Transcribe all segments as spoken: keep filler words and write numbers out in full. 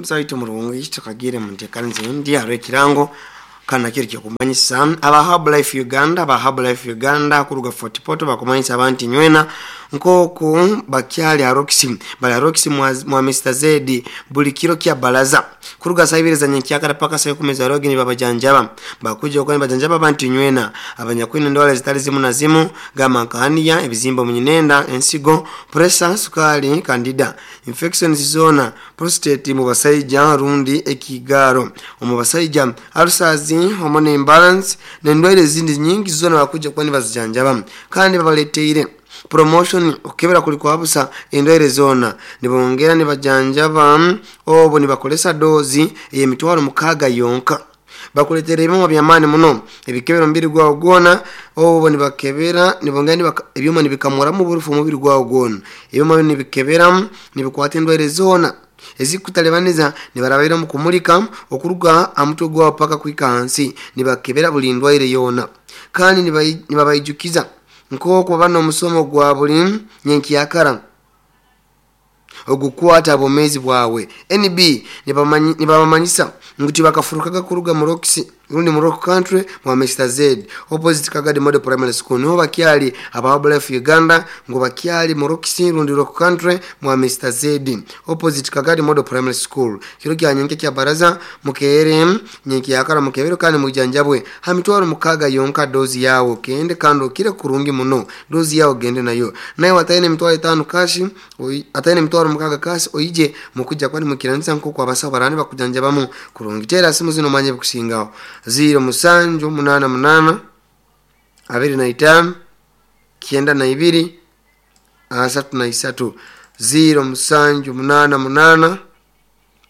Omusaitu murungi tukagire munteekanize ndi hariho ekirango kandi nakyo nikikumanyisa aba Herbalife Uganda. Aba Herbalife Uganda kuruga Fort Portal bakumanyisa abantu nywena nk'oku bakyali Aroxy, bali Aroxy mwa, mwa Mister Z buli kiro kya balaza kuruga saa ibiri za nyenkyakara paka saa ikumi za rogi nibabajanjaba. Bakuja okuba nibajanjaba abantu nywena abanyakwine endwara zitali zimu na zimu, gamba nka hernia, ebizimba omunyinenda, ensigo, pressure, sukali, candida infections zona, prostate mu basaija rundi ekigaro omu basaija, ulcers, hormone imbalance n'endwaire ezindi nyingi zona bakuja kuba nibazijanjaba. Kandi babaleteire promotion, okukebera kuli kwa busa endwaire zona, nibongera nibajanjaba obu nibakolesa dozi ey'emitwaro mukaaga yonka. Bakuletera ebyoma by'amaani muno ebikebera omubiri gwawe gwona, obu nibakebera nibongera nibaka, ebyoma nibikamuramu oburufu omubiri gwawe gwona. Ebyoma binu nibikeberamu, nibikwata endwaire zona ezikutalibaniza, nibarabaira omu kumulika okuruga aha mutwe gwawe paka kuhika hansi, nibakebera buli ndwaire yoona. Kandi nibabaijukiza nk'oku baba n'omusomo gwa buli nyenkyakara ogukwata obwomeezi bwawe. N B nibabamanyisa ngu tibakafurukaga kuruga mu Roxy rundi mu Rock Country mwa Mister Z, opposite Kagadi Model Primary School, niho bakyali. Aba Herbalife Uganda ngu bakyali mu Roxy rundi Rock Country mwa Mister Z, opposite Kagadi Model Primary School. Kiro kya nyenkya kya baraza mukeere nyenkyakara, mukebere kandi mujanjabwe ha mitwaro mukaaga yonka. Dozi yawe kende kandi okire kurungi muno. Dozi yawe gende nayo, naye wataine emitwaro etaano cash, ataine emitwaro mukaaga cash, oije mukujja kwani mukiranisa nk'oku abasawo barani bakujanjabamu kurungi. Teera simu zino omanye bikusingaho: ziro musanju munaana munaana abiri na itaano kyenda na ibiri asatu na isatu, ziro musanju munaana munaana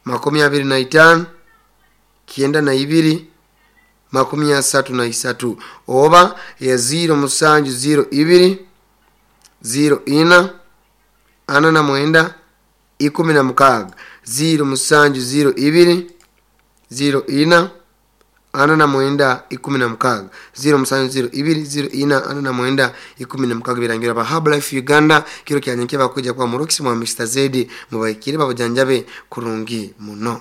makumi abiri na itaano kyenda na ibiri makumi asatu na isatu, oba ya ziro musanju ziro ibiri ziro ina ana na mwenda ikumi na mukaaga, ziro musanju ziro ibiri ziro ina ana na mwenda ikumi na mukaaga, ziro musanju ziro ibiri ziro ina ana na mwenda ikumi na mukaaga. Birangira ba Herbalife Uganda kiro kya nyenkya bakuja kwa mu Roxy mwa Mister Z, mubahikire babajanjabe kurungi muno.